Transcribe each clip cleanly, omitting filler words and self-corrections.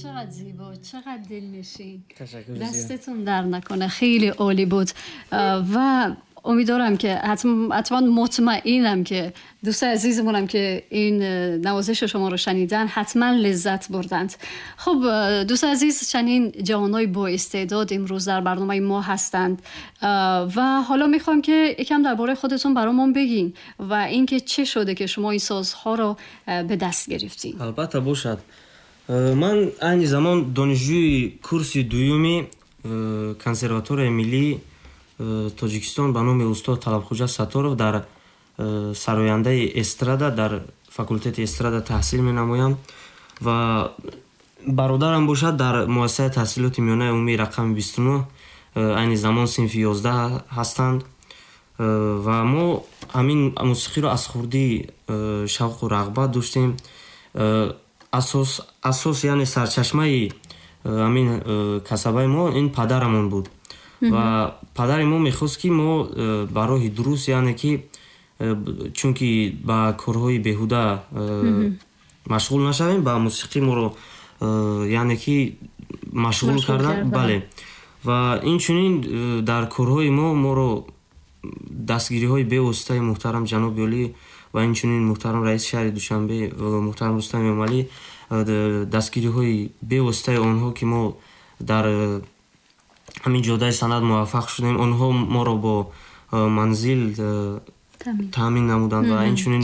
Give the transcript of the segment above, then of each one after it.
چقدر زیبا، چقدر دلنشین. تشکر زیاد. دستتون در نکنه، خیلی عالی بود و امیدوارم که حتما مطمئنم که دوست عزیزمونم که این نوازش شما رو شنیدن حتما لذت بردند. خب دوست عزیز، چنین جوانای با استعداد امروز در برنامه ما هستند و حالا میخوام که یکم درباره خودتون برامون بگین و اینکه چه شده که شما این سازها رو به دست گرفتین. البته باشد. من айни замон донишҷӯи курси дуюми консерваторияи миллии Тоҷикистон ба номи устод Талабхуҷа Сатторов дар сарояндаи эстрада дар факултети эстрада таҳсил менамоям ва бародарам бошад дар муассисаи таҳсилоти миёнаи умумии рақами 29 айни замон синфи 11 ҳастанд ва мо ҳамин мусиқиро аз хурдӣ шавқу рағбат доштем. Асос, яъне сарчашмаи ҳамин касабаи мо ин падарамон буд ва падари мо мехост, ки мо ба роҳи дуруст, яъне ки чунки ба корҳои беҳуда машғул нашавем, ба мусиқӣ моро яъне ки машғул кардан. Бале, ва инчунин дар корҳои мо моро дастгириҳои бевоситаи муҳтарам ҷаноби олӣ ва инчунин муҳтарам раиси шаҳри Душанбе муҳтарам Рустам Эмомалӣ, дастгириҳои бевоситаи онҳо, ки мо дар ҳамин ҷодаи санъат муваффақ шудем. Онҳо моро бо манзил таъмин намуданд ва инчунин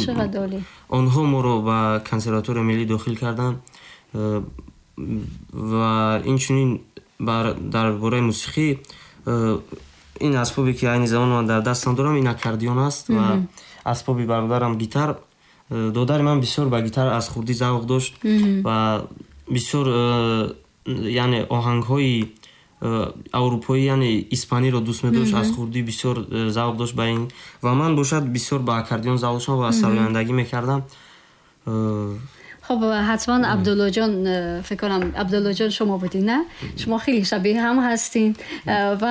онҳо моро ба консерваторияи миллӣ дохил карданд ва инчунин дар бораи мусиқӣ ин асбобе, ки айни замон ман дар дастам дорам, ин аккордеон аст ва асбоби бародарам гитар. Додари ман бисёр ба гитар аз хурдӣ завқ дошт ва бисёр яъне оҳангҳои аврупоӣ, яъне испаниро дӯст медошт. Аз хурдӣ бисёр завқ дошт ба ин ва ман бошад бисёр ба аккордеон завқ доштам ва сарояндагӣ мекардам. خب حتما عبدالله جان، فکر کنم عبدالله جان شما بودین، نه؟ شما خیلی شبیه هم هستین و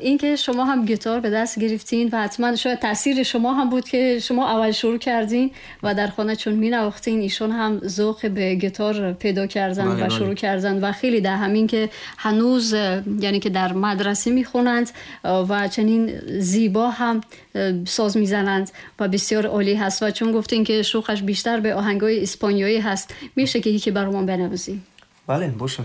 اینکه شما هم گیتار به دست گرفتین و حتما شاید تاثیر شما هم بود که شما اول شروع کردین و در خانه چون می نواختین، ایشون هم ذوق به گیتار پیدا کردن و شروع کردن و خیلی در همین که هنوز یعنی که در مدرسه میخونند و چنین زیبا هم ساز میزنند و بسیار عالی هست. و چون گفتین که شوقش بیشتر به آهنگای اسپانیایی هست، میشه که یکی برامون بنوازی؟ بله، باشه.